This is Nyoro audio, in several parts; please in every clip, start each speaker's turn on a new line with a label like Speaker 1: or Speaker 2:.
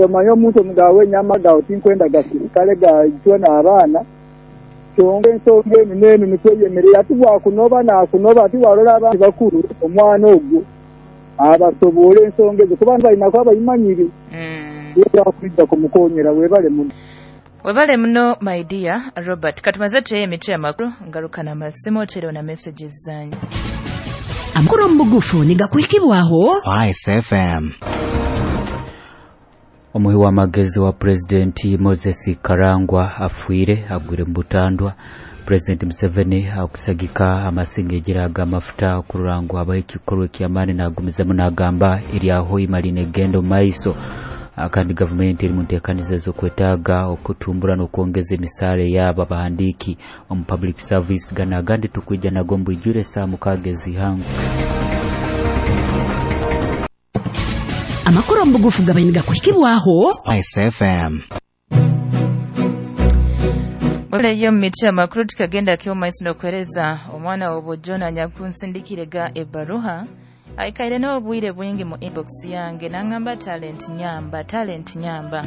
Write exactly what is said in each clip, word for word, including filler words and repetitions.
Speaker 1: Omanye omuntu omugawe enyama gawe tinkwenda gasirikale gaitwe n'abaana, kyonka ensonga enu n'enu nikwo eyemerera. Ati bwakunoba nakunoba, ati warora abandi bakuru omwana ogwo abasoboora ensonga ezo kuba balina kuba bayimanyire.
Speaker 2: Mm.
Speaker 1: Kwija kumukonyera. Webale muno.
Speaker 2: Webale muno, my dear Robert. Katumaze tuye emitwe y'amakuru, ngaruka n'amasimu oterewo na messages zanyu.
Speaker 3: Amakuru mu bugufu nigakuhikibwaho
Speaker 4: Spice F M.
Speaker 5: Omuhi w'amagezi wa Pulezidenti Moses Karangwa afwire, agwire mu butandwa. Pulezidenti Museveni akusagika amasinga ag'amafuta okurora ngu habaho ekikorwa eky'amaani, nagumizamu nagamba erya Hoima linegenda omu maiso. Ah, kandi gavumenti eri mu nteekaniza ez'okwetaaga okutumbura n'okwongeza emisaara yaabo abahandiiki omu public service. Gano agandi tukwija nago mbwijure saa mukaaga ez'ihangu.
Speaker 3: Amakuru mu bugufu gabaire nigakuhikibwaho
Speaker 4: Spice F M.
Speaker 2: Webaleyo mu mitwe y'amakuru. Tukagenda kyo maiso n'okuhereza omwana w'obujona anyakunsindikire ga ebaruha, aikaire n'obwire bwingi mu inbox yange, nangamba, "Talent nyamba, Talent nyamba."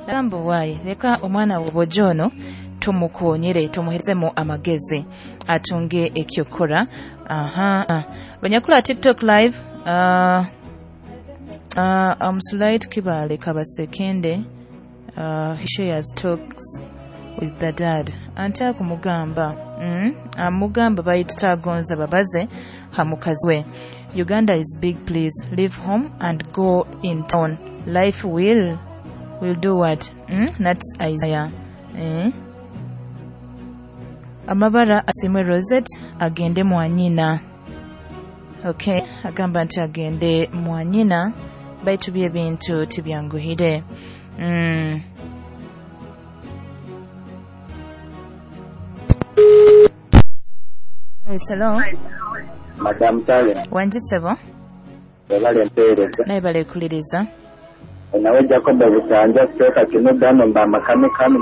Speaker 2: Nagamba, "Waayi, leka omwana w'obujono tumukonyere, tumuherezemu amagezi atunge ekyokora." Aha, banyakula TikTok live, uh, uh, Amsulait Kibale Kabasekende, uh, he shares talks with the dad ante akumugamba, mm, amugamba baitu tagonza babaze ha mukazi we. Uganda is big, please leave home and go in town. Life will will do what? mm? That's Isaiah, eh? Amabara asimwe Rosette agende mwanyina. Okay, agamba nti agende mwanyina, baitu byebintu tibyanguhire. mm. Yes, hello.
Speaker 6: Madamu Talent.
Speaker 2: Wangisebo.
Speaker 6: Webale empeereza.
Speaker 2: Naye balekuliriza.
Speaker 6: Nawe Jacob Butanja, kiteeka kino gano mba amakamikami.